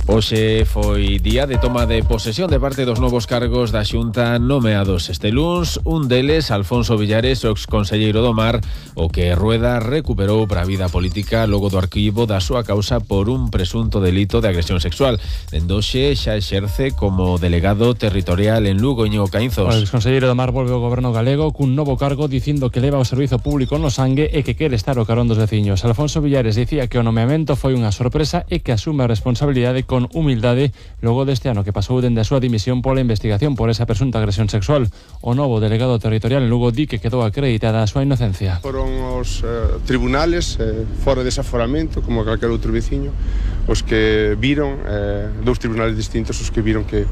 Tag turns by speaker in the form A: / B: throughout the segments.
A: Hoxe foi día de toma de posesión de parte dos novos cargos da Xunta nomeados este luns. Un deles, Alfonso Villares, o exconselleiro do Mar, o que Rueda recuperou para a vida política logo do arquivo da súa causa por un presunto delito de agresión sexual. Dende hoxe xa exerce como delegado territorial en Lugo. Íñigo Caínzos.
B: O exconselleiro do Mar volve ao goberno galego cun novo cargo dicindo que leva o servizo público no sangue e que quere estar ao carón dos veciños. Alfonso Villares dicía que o nomeamento foi unha sorpresa e que asume a responsabilidade con humildade logo deste ano que pasou dende a súa dimisión pola investigación por esa presunta agresión sexual. O novo delegado territorial en Lugo di que quedou acreditada a súa inocencia.
C: Foron os tribunales fora dese aforamento, como calquer outro veciño, os que viron, dous tribunales distintos, os que viron que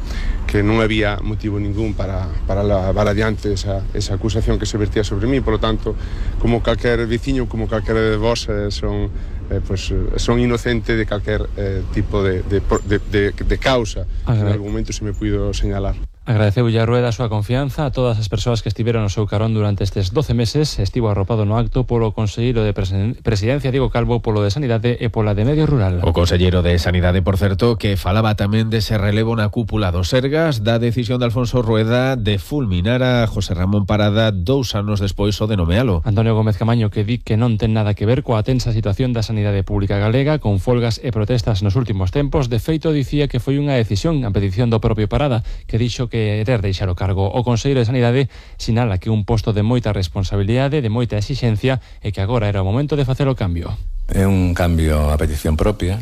C: non había motivo ningún para levar adiante esa acusación que se vertía sobre mí. Por lo tanto, como calquer veciño, como calquer de vos, son inocente de calquer tipo de causa que en algún momento se me puido señalar.
B: Agradeceu a Rueda a súa confianza a todas as persoas que estiveron no seu carón durante estes 12 meses. Estivo arropado no acto polo conselleiro de Presidencia, Diego Calvo, polo de Sanidade e pola de Medio Rural.
A: O conselleiro de Sanidade, por certo, que falaba tamén dese relevo na cúpula do Sergas, da decisión de Alfonso Rueda de fulminar a José Ramón Parada 2 anos despois o de nomealo.
B: Antonio Gómez Camaño, que di que non ten nada que ver coa tensa situación da sanidade pública galega, con folgas e protestas nos últimos tempos. De feito, dicía que foi unha decisión a petición do propio Parada, que dixo que querer deixar o cargo. O conselleiro de Sanidade sinala que un posto de moita responsabilidade, de moita exixencia, e que agora era o momento de facer o cambio.
D: É un cambio a petición propia,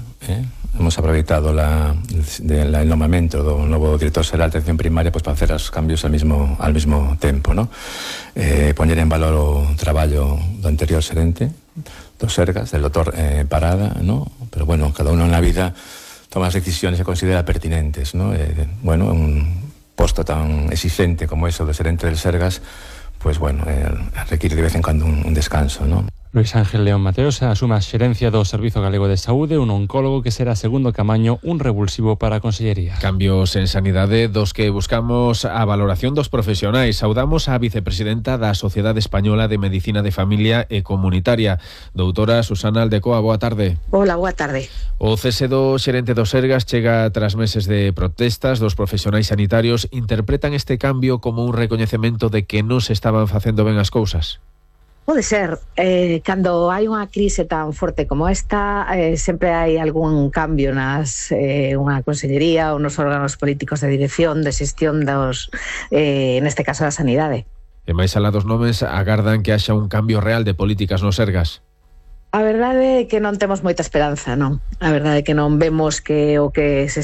D: hemos aproveitado el nomamento do novo director xeral de atención primaria para facer os cambios al mismo tempo, ¿no? Poñer en valor o traballo do anterior xerente do Sergas, del doctor Parada, ¿no? Pero bueno, cada uno na vida toma as decisiones que considera pertinentes, ¿no? Un posto tan exigente como eso do xerente del Sergas, pues bueno, requiere de vez en cuando un descanso, ¿no?
B: Luis Ángel León Mateos asume a xerencia do Servizo Galego de Saúde, un oncólogo que será segundo Camaño, un revulsivo para a Consellería.
A: Cambios en sanidade dos que buscamos a valoración dos profesionais. Saudamos a vicepresidenta da Sociedade Española de Medicina de Familia e Comunitaria, doutora Susana Aldecoa. Boa tarde.
E: Hola, boa tarde.
A: O cese do xerente do Sergas chega tras meses de protestas dos profesionais sanitarios. Interpretan este cambio como un recoñecemento de que non se estaban facendo ben as cousas?
E: Pode ser, cando hai unha crise tan forte como esta, sempre hai algún cambio unha consellería ou nos órganos políticos de dirección, de xestión neste caso da sanidade.
A: E máis alá dos nomes, agardan que haxa un cambio real de políticas no Sergas?
E: A verdade é que non temos moita esperanza, non? A verdade é que non vemos que o que se